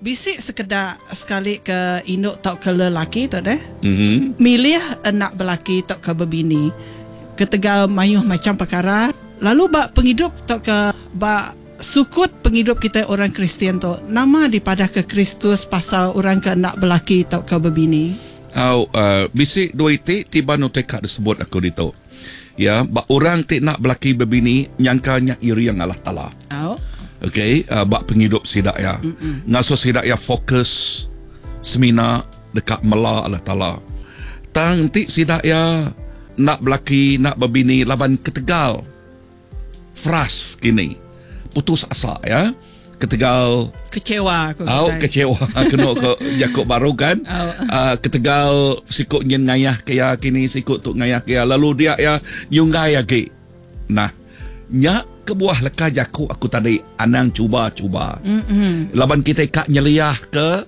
Bisi sekeda sekali ke indu tauka lelaki tu deh milih enda belaki tauka bebini ketegal mayuh macham pekara lalu ba pengidup tauka ba sukut pengidup kitai orang Kristian tu nama dipadahka Kristus pasal orang ke enda belaki tauka bebini? Au bisi dua iti tiban utai ka disebut aku ditu. Ya ba orang ti enda belaki bebini nyangka nya iring Allah Taala. Au. Okey ba pengidup sida iya. Ngasuh sida iya fokus semina deka mela Allah Taala. Tang enti sida iya enda belaki enda bebini laban ketegal frust kini putus asa ya ketegal kecewa aku au kecewa kenu ko jaku baru kan uh, ketegal siku nyin ngayah ke ya kini siku tu ngayah ke ya lalu dia ya nyunggai agi nah nya kebuah leka jaku aku tadi anang cuba-cuba mm-hmm. laban kita ka nyeliah ke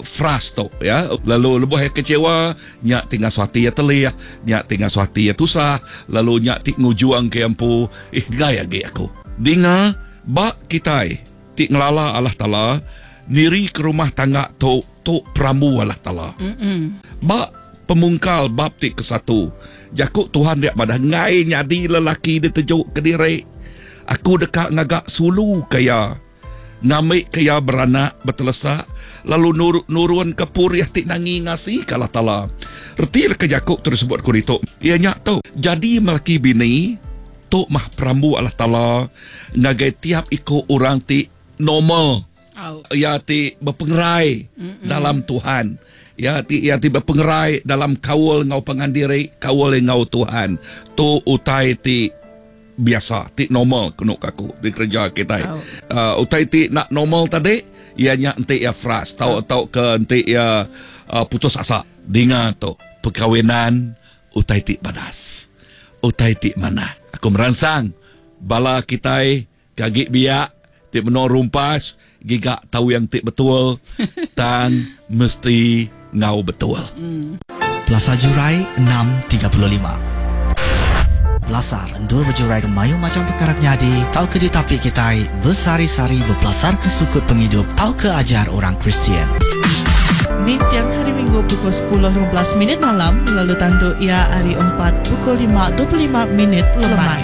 frust tu ya lalu lebuh ya kecewa nya ti ngasuh ati ya telih nya ti ngasuh ati ya tusah lalu nya ti ngujuang ke empu eh gai agi aku dinga Ba kitai ti ngelala Allah Taala, nirika rumah tangga tu tu perambu Allah Taala. Ba Pemungkal bab ti kesatu, jaku Tuhan dia madah enggai nyadi lelaki diteju kediri. Aku deka ngaga sulu ke iya, ngambika iya beranak betelesak lalu nurunka purih ti nangi ngasika Allah Taala. Reti leka jaku ti disebut ku ditu iya nya tu, jadi melaki bini Tu mah perambu Allah Taala ngagai tiap iku orang ti normal, iya ti bepengerai dalam Tuhan, iya ti iya ti bepengerai dalam kaul enggau pangan diri, kaul enggau Tuhan. Tu utai ti biasa, ti normal kenu ka aku dikereja kitai. Uh, utai ti enda normal tadi iya nya enti iya frust tau tauka enti iya uh, putus asa. Dinga tu perkawinan Utai ti badas. Utai ti manah. Aku meransang bala kitai ke agi biak ti menua rumpas giga tawing ti betul tang mesti enggau betul. Pelasar Jurai 6:35. Pelasar endur bejuraika mayuh macham pekara ke nyadi tauka ditapi kitai besehari-sehari bepelasarka sukut pengidup tauka ajar orang Kristian. Ninting Hari Minggu pukul 10:15 minit malam lalu tandu iya hari Empat pukul 5:25 minit lemai.